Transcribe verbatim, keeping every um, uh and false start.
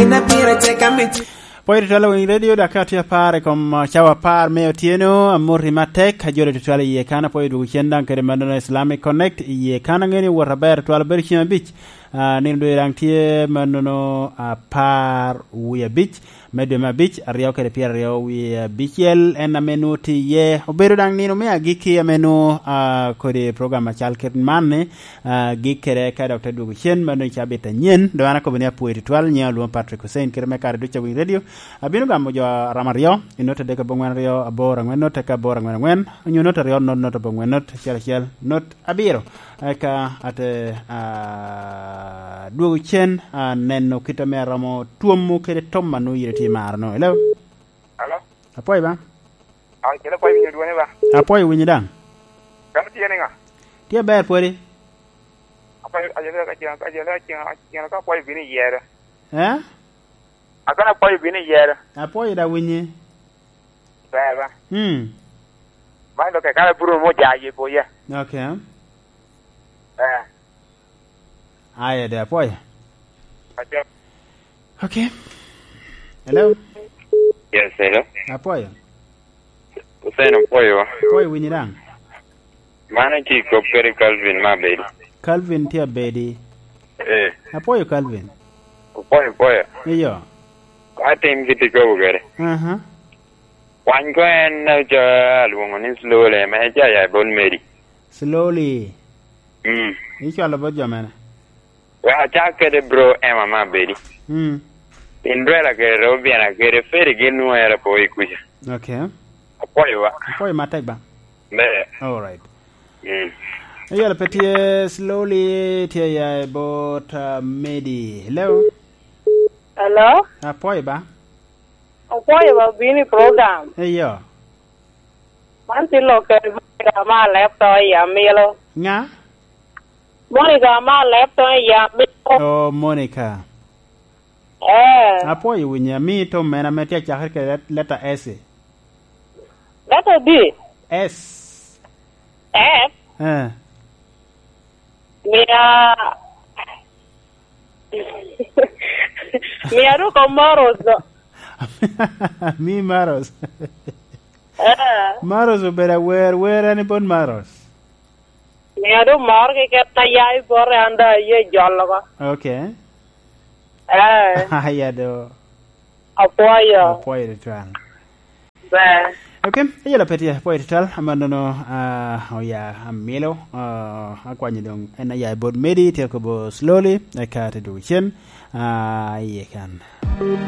Ina pira teka mit. Pwod itwal winy radio, dok ka tye apar i kom, uh, cawa apar me otyeno, amoti matek, ajolo tutwal i yie kan, apwoyo dwogo cen daŋ kede mannono Islamic Connect i yie kan, aŋeni wot aber twal bedo cim abic. Ah, nino doŋ daŋ tye mannono apar wie abic me dwe me abic, aryo kede pyeraryo wie abicel, en ame nwoŋo tye iye. Obedo daŋ nino me agikki ame nwoŋo, ah, kodi program acal kit man-ni, ah, gikkere ka dok te dwogo cen, mano i cabit anyen. Doŋ an akobo ni apwoyo tutwal, nyiŋa olwoŋo Patrick Hussein, kite me kare ducu a Winy Radio. Abino gamo jo aram aryo, i not adek aboŋwen aryo aboro aŋwen not, eka aboro aŋwen aŋwen, onyo not aryo not not aboŋwen not acel acel not abiro. Eka ate, ah, dwogo cen, ah, neno kit ame aromo twomo kede tom a nwoŋo yite tye i maro-nu. Hello? Alo? Apwoyo ba? Ah, kelo apwoyo winyo dwone ba? Apwoyo winyo daŋ. Kano tye niŋa? Tye aber pwodi? Apwoyo, ajele, ajele, ajele, ajele, ajele, ka apwoyo bino i yere. Eh? Akano apwoyo bino i yere. Apwoyo da winyi. Ber ba? Hmm. Man lo ke kara buru mo ja ye boye. Okay. Eh. Aye de apwoyo. Acha. Okay. Hello? Yes, hello. Apwoyo. Hussein, apwoyo. Apwoyo winyi daŋ. Mano tye i kop kede Calvin me abedi. Calvin tye abedi. Eh. Apwoyo Calvin. Apwoyo, apwoyo. Iyo. Atim kit ikobo kede. Aha. Kwany ko en, eh, ca alwoŋo ni Slowly, me ca ya i bot Mary. Slowly. Mm. Icwalo bot jo mene? Wek acak kede bro Emma me abedi. Mm. Cinderella kede Robiana kede Feri gin nwoŋo era po i kuca. Okay. Apwoyo wa. Apwoyo matek ba? Ber. All right. Mm. Eyalo pe tye Slowly, tye ya i bot, uh, Medi. Hello? Hello? Apwoyo ba? Apwoyo ba bino i program. Eyo. Man tye lok kede Monica ma alep to i amilo. Ŋa? Monica ma alep to i amilo. Oh, Monica. Eh. Apwoyo winyi, ami tom mene ame tye acakere kede let-, leta S. Leta di? S. S? Eh. Mia, mia dok omoros do. Mi Maros. Eh. Maros obedo awer, wer en i bot Maros. Mia dok mor ki ket a ya i bote, an da aye jolo ko. Okay. Eh. Aya do. Apwoyo. Apwoyo tutwal. Ber. Okay, eyelo pe tye, apwoyo tutwal, amannono, ah, oya amilo, ah, akwanyo doŋ en aya i bot Medi, tye kobo Slowly, eka te dwogo cen, ah, iye kan.